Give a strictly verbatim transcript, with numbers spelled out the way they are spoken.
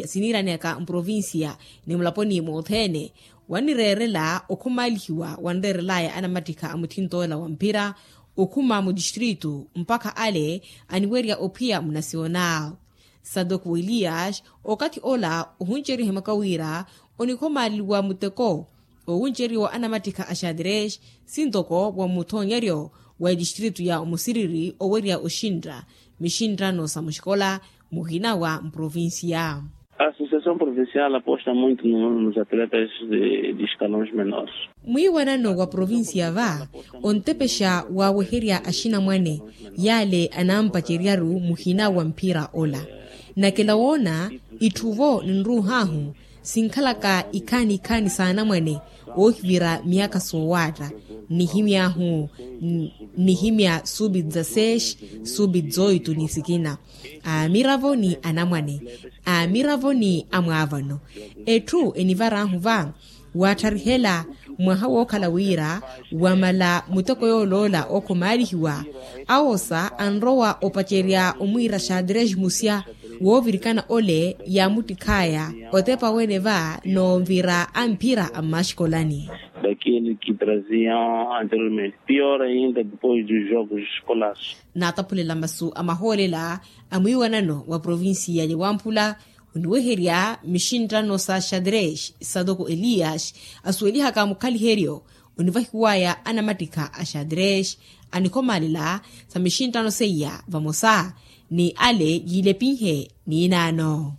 Siniiraneyaka mprovincia ni mulaponi mothene, wannireerela okhumaalihiwa wanreerelaya anamattikha a mutthinto ola wa mphira okhuma muttistritu mpakha ale aniwerya ophiya munasiona. Sadoko elias, okathi ola ohunceriwa ehimaka wira onikhomaaleliwa muteko oowunceriwa anamattikha a xadres, sintoko wa muthonyeryo wa etistritu ya omusiriri owerya oxintta mixinttano sa muxikola muhina wa mprovincia. A associação provincial aposta muito nos atletas de escalões menores. Mwiiwanano wa provincia va ontepexa waaweherya axinamwane yaale anampaceryaru muhina wa mphira ola. Nakela woona itthu vo ninruuhahu sinkhalaka ikhaani ikhaani s'anamwane oohivira miyakha soowaatta, nihimy'ahu nihimya subi dzaseis subi dzoitu ni sikina, aamiravo ni anamwane, aamiravo ni amwaavano. Etthu enivar'ahu va waattarihela mwaha wookhala wira wamala muteko yooloola okhomaalihiwa, awosa anrowa opacerya omwiira xadres musya woovirikana ole yaamuttikhaya otepa wene va noovira a mphira a mmaxikolani. Daqueles que traziam anteriormente pior ainda depois dos jogos escolares. Naataphulela masu a mahoolela a mwiiwanano wa provincia ya wamphula oniweherya mixinttano sa xadres satoko elias asuwelihaka mukhaliheryo onivahiwaya anamattikha a xadres anikhomaalela sa mixinttano seiya vamosa ni ale yiilepinhe. Niinaano.